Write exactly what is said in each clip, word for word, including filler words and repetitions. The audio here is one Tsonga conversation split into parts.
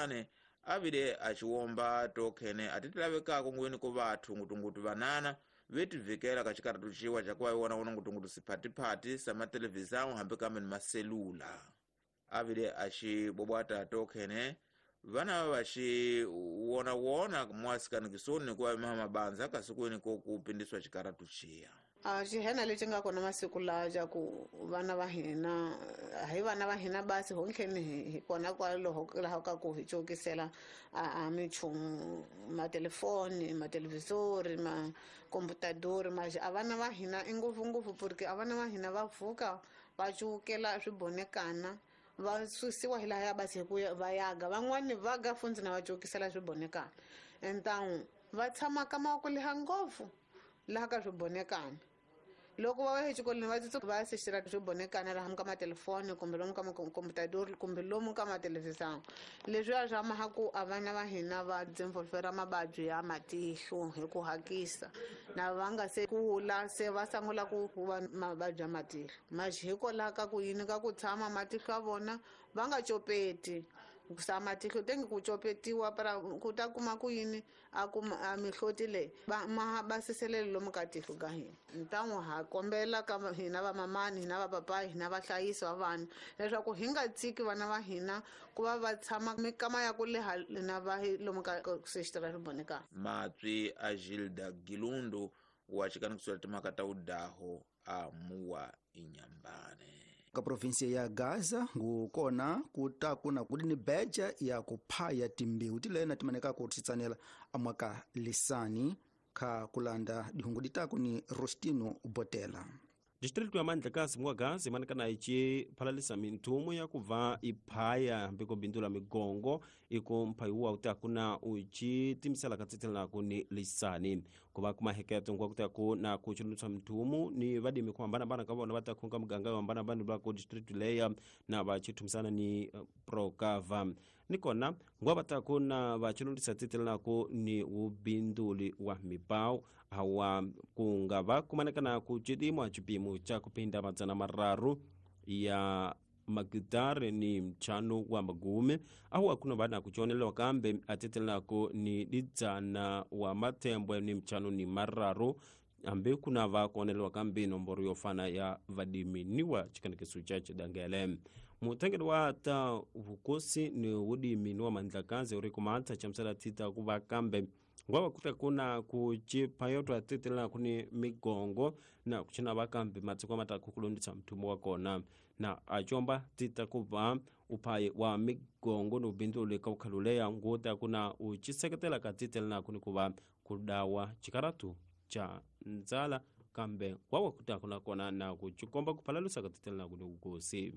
Inhambane avile aciwomba tokhene atitilavekako ngwini ku vathu ngutungutu vanana vetivikela ka xikaratu ciwa ca ku va vona vona ngutungutu siphatipati sa matelevisão hambi kambe ni maselula. Avile axibobwata tokhene vana va xi wona wona mwasikanikisoni ku va mabanza kasi kwini ko ku pindiswa xikaratu xiya. A xihena lexi nga kona masiku lawa ja ku vana va hina hi vana va hina basi honkheni hi kona kwaloho laha ka ku hi cokisela a minchumu matelefoni matelevisori makomputadori ma a vana va hina i ngopfungopfu porque a vana va hina va pfuka va cukela swibonekana va susiwa hi laha ya basi hi ku va yaga van'wani va ga fundzi na va cokisela swibonekana entawu va tshama ka mavoko leha ngopfu laha ka swibonekana loko va ya exikolweni va tsutsu va sexela swibonekana laha ka matelefoni kumbe lomu ka makomputadori kumbe lomu ka matelevisão leswiya swa maha ku a vana va hina va desenvolvera mavabyi ya matihlo hi ku hakisa na va nga se kula se va sungula ku va mavabyi ya matihlo maxi hikwalaho ka ku yini ka ku tshama matihlo ya vona va nga copeti sa matihlo tenge ku copetiwa para ku ta kuma ku yini a kuma a mihloti leyi va ma basiselele lomu ka tihlo ka hina ntan'wu ha kombela ka hina vamamani hina vapapayi hina vahlayisi va vana leswaku hi nga tshiki vana va hina ku va va tshama mikama ya ku leha na va lomu ka sexitara swibonekana. Matswi a Gilda Gilundu wa xikanikisela timhaka ta udaho a muwa Inhambane. Ka provinsia ya Gaza ngukona kuta kuna kudi ni beja ya kuphaya timbewu tilena timaneka ku titsanela amwaka lisani kha kulanda dihungu ditako ni Rostino Botela. Distrito ya Mandlakazi mwa Gaza imanekana ici phalalisa minthumo ya kuva iphaya hambi ko bindula migongo iko mphayiwa utakuna uci timisela ka tsitselanaku ni lisani kuva kumaheketo nkwa kutaku na kuchulutsa minthumo ni vadimi ku hambanahambana ka vona va ta khunga muganga yo hambanahambana va ku district leya na va chithumisana ni Procava ni kona ngwa va taku na va chulutsa tsitselanaku ni ubinduli wa mipawu hawa kunga va kumanekana ku cidimo cipimo ca kupinda madzana mararu ya magitare ni mchano wa magume ahu akuna vana kuchonelewa kambe atetelako ni lidzana wa matembwe ni mchano ni mararu ambe kuna va kuonelewa kambe nomboro yofana ya vadimi niwa chikanekesu cha chidangele mutengeli wa ta vukosi ni wudimi ni wa Mandlakazi uri kumata chamsala tita kuva kambe ngwava kuta kuna kuchipa yoto atetela kuni migongo na kuchina vakambi matsiko mataku kulondisa mthumo wa kona na achomba tita kuva uphayi wa migongo ni ubinduli ka ukhaluleya nguta kuna uchiseketela ka titela kuni kuva kudawa chikaratu cha ndzala kambe ngwava kuta kuna kona na kuchikomba kuphalalusa ka titela kuni ukosi.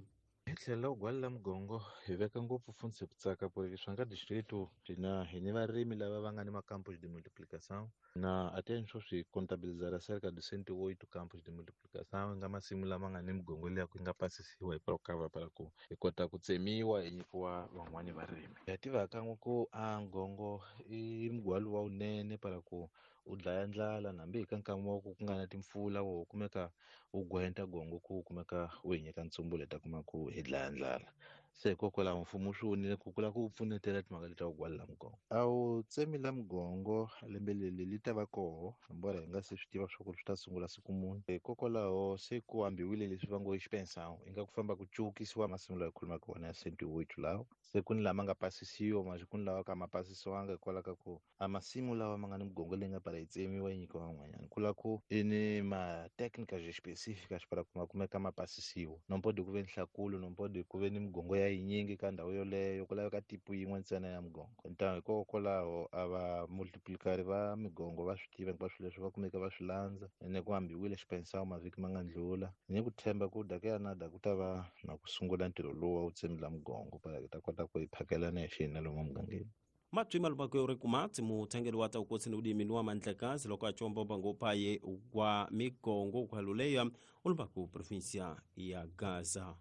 Hi tlhela u gwala mugongo hi veka ngopfu fundzi ku tsaka porque swa nga distrito hina hi ni varimi lava va nga ni macampos de multiplicação na até swo swi contabilizar cerca de cento e oito campos de multiplicação nga masimu lama nga ni migongo leyi ku nga pasisiwa hi Procava para ku hi kota ku tsemiwa hi nyikiwa van'wani varimi. Ha tiva kan'we ku a ngongo i mugwalo wa wunene para ku u dlaya ndlala nambi hi ka nkama wa ku ku nga na timpfula wo kumeka u gwenta gongo ku kumeka u hi nyika ntsumbu leta kuma ku hi dlaya ndlala se hikokwalaho mfumo swi vonile ku kula ku pfunetela timhaka leti ta ku gwala mugongo. A wu tsemi la mugongo lembe leri li ta va koho embora hi nga se swi tiva swa ku swi ta sungula siku muni hikokwalaho se ku ambiwile leswi va ngo i xipensão i nga ku famba ku cukisiwa masimu lawa hi khulumaka wona ya cento e oito lawa se ku ni lama nga pasisiwa masi ku ni lawa ka ma pasisiwanga hikwalaho ka ku a masimu lawa ma nga ni migongo leyi nga para yi tsemiwa yi nyikiwa van'wanyana ku la ku i ni ma-técnicas específicas para ku ma kumeka ma pasisiwa no pode ku ve ni nhlakulo no pode ku ve ni migongo ya yinyingi ka ndhawu yoleyo ku laveka tipo yin'we ntsena ya migongo ntangu hikokwalaho a va multiplicari va migongo va swi tiva hinkwaswo leswi va kumeka va swi landza ene ku hambiwile xipensao mavhiki ma nga ndlula ni ku tshemba ku daka ya nada ku ta va na ku sungula ntirho lowu wa wu tsemila migongo para hi ta kota ku hi phakelana hi xihina lomu mugangeni. Matswi malubako uri kumatsi muthengeli wa ta ukosi ni udimi wa Mandlakazi loko achomba bangophaye wa migongo kwaluleya ulubaku provincia ya Gaza.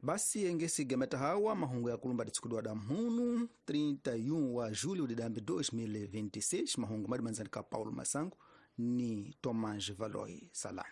Basi engesi gemeta hawa mahungu ya kulumba ditsukudu da mhunu trinta e um wa julho de dois mil e vinte e seis mahungu madimanzani ka Paulo Masango ni Tomás Valoi Salah.